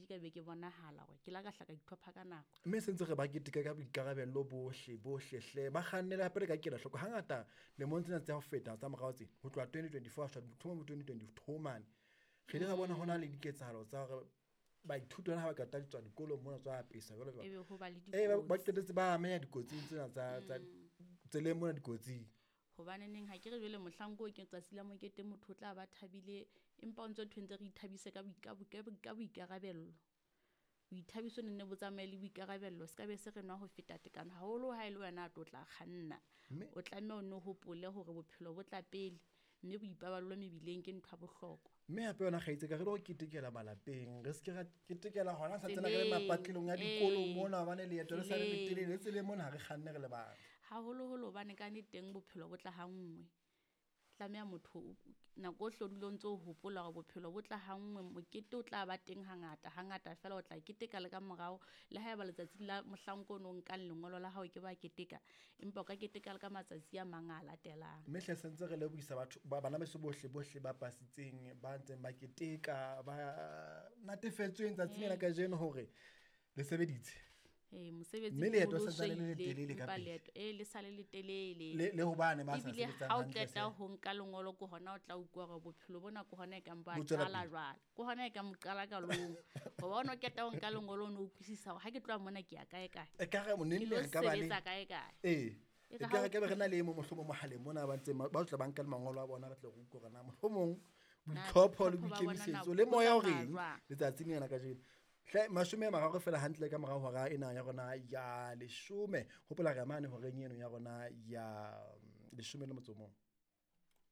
ke ka be ke bonahala gore ke la ka hla ka itlhopha ka nako. Mme sentse re ba keteka ka boikarabello bohle bohle hle ba kgannele hape re ka kela hloko. Hangata lemong tsena tsa ho feta tsa morao tse ho tloha 2024 ho thoma bo 2022 mane, re ile ra bona ho na le diketsahalo tsa hore baithuti bana ha ba qeta tswa dikolong mona tswa apesa jwalo jwalo. Ebe ho ba le Ee, ba dikotsi. qetetse ba ameha dikotsing tsena tsa tseleng mona dikotsing. Hobaneneng ha ke re jwale mohlang ko ke tsatsi la mokete motho o tla ba thabile, empa o ntso thwe ntse re ithabise ka ka boikarabello. Boithabiso ne nne bo tsamaye le boikarabello, se ka be se re nwa ho feta tekano haholo ha e le wena a tlo tla kganna. O tlameha o nno hopole hore bophelo bo tla pele, mme boipaballo mebileng ke ntho ya bohlokwa. Mme hape yona kgaitsedi ka re lo ketekela malapeng, re se ke ra ketekela hona sa tsena re le Tseleng, mapatlelong a dikolo ee, mona hobane leeto le sa le tseleng. letelele, le tseleng mona ha re kganne re le bang. Haholoholo hobane ka nnete teng bophelo bo tla ha nngwe. Tlameha motho nako ohle o dule o ntso o hopola hore bophelo bo tla ha nngwe, mokete o tla ba teng hangata, hangata feela o tla keteka le ka morao. Le haeba letsatsi la mohlang ko ono nkang lengolo la hao ke ba keteka, empa o ka keteka le ka matsatsi a mang a latelang. Mme hle sentse re lebohisa batho ba bana beso bohle bohle ba pasitseng, ba ntseng ba keteka, ba natefetsweng tsatsing lena kajeno hore le sebeditse. Ee, mosebetsi Mme leeto o santsane le so ile, letelele ka empa pele. leeto, ee, le sale letelele. Le hobane ba sa Ebile sebetsang ha o hantle qeta hle. ho nka lengolo ke hona o tla utlwa hore bophelo bona ke hona e kang bo a Bo tswela qala pele. jwale. Ke hona e kang bo qala qalong. Hoba o no qeta ho nka lengolo o no utlwisisa hore ha ke tloha mona ke ya kae kae. Ekare Ke neng lo re ka ba le sebetsa kae kae. Ee. E re Ekare ha o ka be re na le e mong mohlomong mohaleng mona ba ntseng ba tla ba nka le mangolo a bona re tle re utlwe hore na mohlomong Na boitlhopho le boitlhopho ba bona na boikemisetso le bo moya o tsamaya reng jwang? letsatsing lena kajeno. Hle 30 feela hantle ka morao hora ena ya rona ya 10. Hopola re mane horeng eno ya rona ya 11.